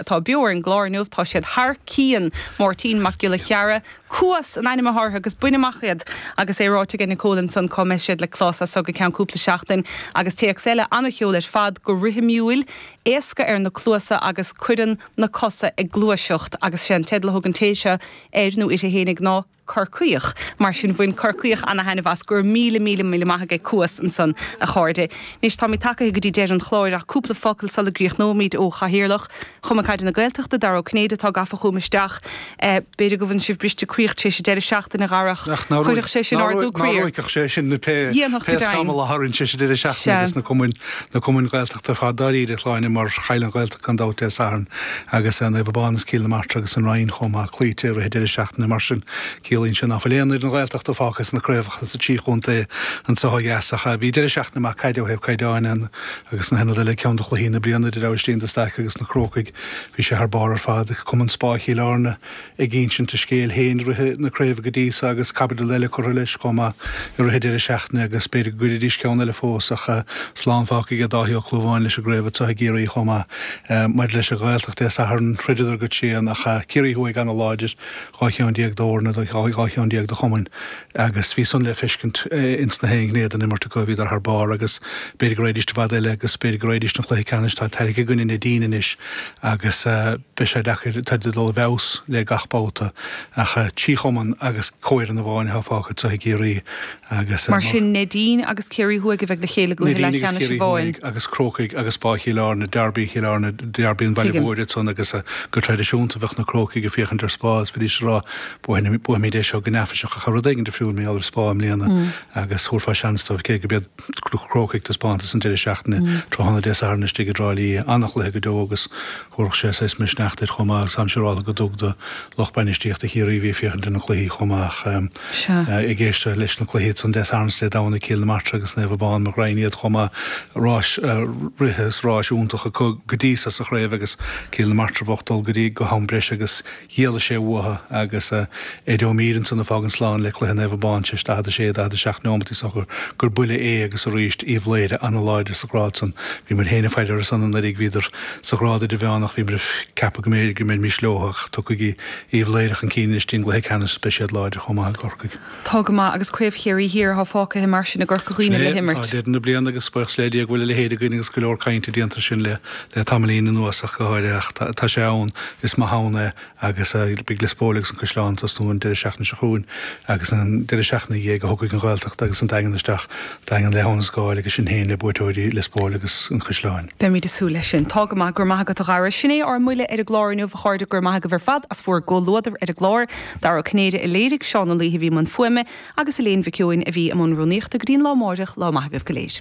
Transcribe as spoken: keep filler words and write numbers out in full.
atá beo ar an gclár inniu, tá siad thar cionn, Máirtín Mac Giolla Cheara, Cuas an ainm atá orthu agus bain amach iad agus é ráite ag Nicole ansan cá mbeidh siad le clos as so go ceann cúpla seachtain agus téacs eile an-cheol ar fad go rithimiúil, éasca ar na cluasa agus cuireann na cosa ag gluaiseacht agus sé an teideal a thug an té seo air nó uirthi fhéinig ná Corcaíoch. Mar sin bhain Corcaíoch ana-thaitneamh as. Go raibh míle míle míle maith ag Cuas ansan a chairde. Anois táimid tagaithe go dtí deireadh an chláir ach cúpla focal sula gcríochnóimid ó Chathaoirleach Chumann Caide na Gaeltachta, Dara Ó Cinnéide atá gafa chugam isteach. B'fhéidir go bhfuil sibh briste croí tar éis an deireadh seachtaine, a Dhara. Chuirfeadh sé sin ardú croí ort. Ná ruaigfeadh sé sin pé scamall a tharraing sé sa deireadh seachtaine agus na cumainn, na cumainn Ghaeltachta ar fad dáiríre, a Shláine, mar chaill an Ghaeltacht gan dabht Dé Sathairn agus Naomh Abán agus Cill na Martra agus an Rinn chomh maith cloíte i rith an deireadh seachtaine. Mar sin, ciallaíonn sé nach bhfuil aon fhoireann Ghaeltachta fágtha sna craobhacha sa trí chontae anseo ó dheas ach bhí deireadh seachtaine maith caide ó thaobh caighdeáin ann agus na haon rud eile, ceann de chluichí na bliana idir Aibhistín de Staic agus na Crócaigh. Bhí sé thar barr ar fad. Cumann Spá Chill Airne ag insint a scéil féin i rith na craoibhe go dtí so agus caibidil eile curtha leis chomh maith i rith an deireadh seachtaine agus b'fhéidir go gcuirfidís ceann eile fós ach slán fágtha aige Dáithí Ó Clúmháin leis an gcraobh anseo i gCiarraí chomh maith. Maidir leis an Ghaeltacht Dé Sathairn throideadar go tréan ach Ciarraí Thuaidh ana-láidir, dhá cheann déag d'fhoirne, dhá cheann déag de chumainn agus bhí san le feiscint ins na haon ghné den imirt acu, bhíodar thar barr agus b'fhéidir go raghaidís i bhfad eile agus b'fhéidir go raghaidís don chluiche ceannais, tá tarrac i gcoinne Neidín anois agus beidh sé deacair, táid ag dul i bhfeabhas le gach babhta ach trí chumann agus comhfhoireann amháin atá fágtha anseo i gCiarraí agus. Mar sin Neidín agus Ciarraí Thuaidh a bheidh le chéile i gcluiche Neidín agus leathcheannais Ciarraí amháin. Thuaidh agus Crócaigh agus Spá Chill Airne, Derby Chill Airne, Derby an Bhaile Tuigim. Mhóir ansan agus go traidisiúnta bheadh na Crócaigh ag féachaint ar Spá agus bhídís ag rá buafaimid é seo go neafaiseach ach tá rud éigin difriúil mar gheall ar Spá i mbliana agus thabharfá seans dóibh cé go b'iad Crócaigh taispeántas an deireadh seachtaine tráthnóna Dé Sathairn istigh i dTrá Lí an-chluiche go deo agus thabharfadh sé saghas misneach duit chomh maith agus táim siúrálta go dtug do lucht bainistíochta Chiarraí a bhí ag féachaint ar na cluichí chomh maith ag éisteacht leis na cluichí ansan Dé Sathairn is Dé Domhnaigh Cill na Martra agus Naomh Abán mo ghraidhin iad chomh maith ráis rith is ráis iontach acu go dtí so sa chraobh agus Cill na Martra bocht dul go dtí go ham breise agus Dhíolfaidh sé uathu agus Eddie O'Meara ansan ag fágaint slán le cluiche Naomh Abán tar éis daichead a sé, daichead a seacht neomat is dócha gur buille é agus arís Uíbh Laoghaire an-láidir sa ghrád san. Bhí muid féin ag faire orthu san anuraidh, bhíodar sa ghrád idirmheánach, bhí muid ag ceapadh go mb'fhéidir go mbeimis leo ach tiocfaidh Uíbh Laoghaire chun cinn anois dtí'n gcluiche ceannais beidh siad láidir chomh maith i gCorcaigh. Tá go maith agus Craobh Chiarraí Thiar atá fágtha mar sin i gCorca Sin Dhuibhne é, le tá himirt. deireadh na bliana agus buíochas le Dia go bhfuil a leithéid againn agus go leor cainte déanta air sin le le tamaillín anuas ach go háirithe ach tá sé ann, is maith ann é agus beidh Lios Póil agus an Caisleán ag tosnú an deireadh seachtaine seo chugainn agus an deireadh seachtaine ina dhiaidh a thiocfaidh an Ghaeltacht agus an Daingean isteach, Daingean le hAbhainn an Scáil agus sinn féin le buaiteoirí Lios Póil agus an Chaisleáin. Beimid ag súil leis sin. Tá go maith, go raibh maith agat a Dhara. Sin é ár mbuille ar an gclár inniu, a chairde, go raibh maith agaibh ar fad as bhur gcomhluadar ar an gclár. Dara Ó Cinnéide a léirigh, Seán Ó Laoithe a bhí i mbun fuaime agus Elaine Mhic Eoin a bhí i mbun rúnaíochta. Go dtí an lá amáireach, lá maith agaibh go léir.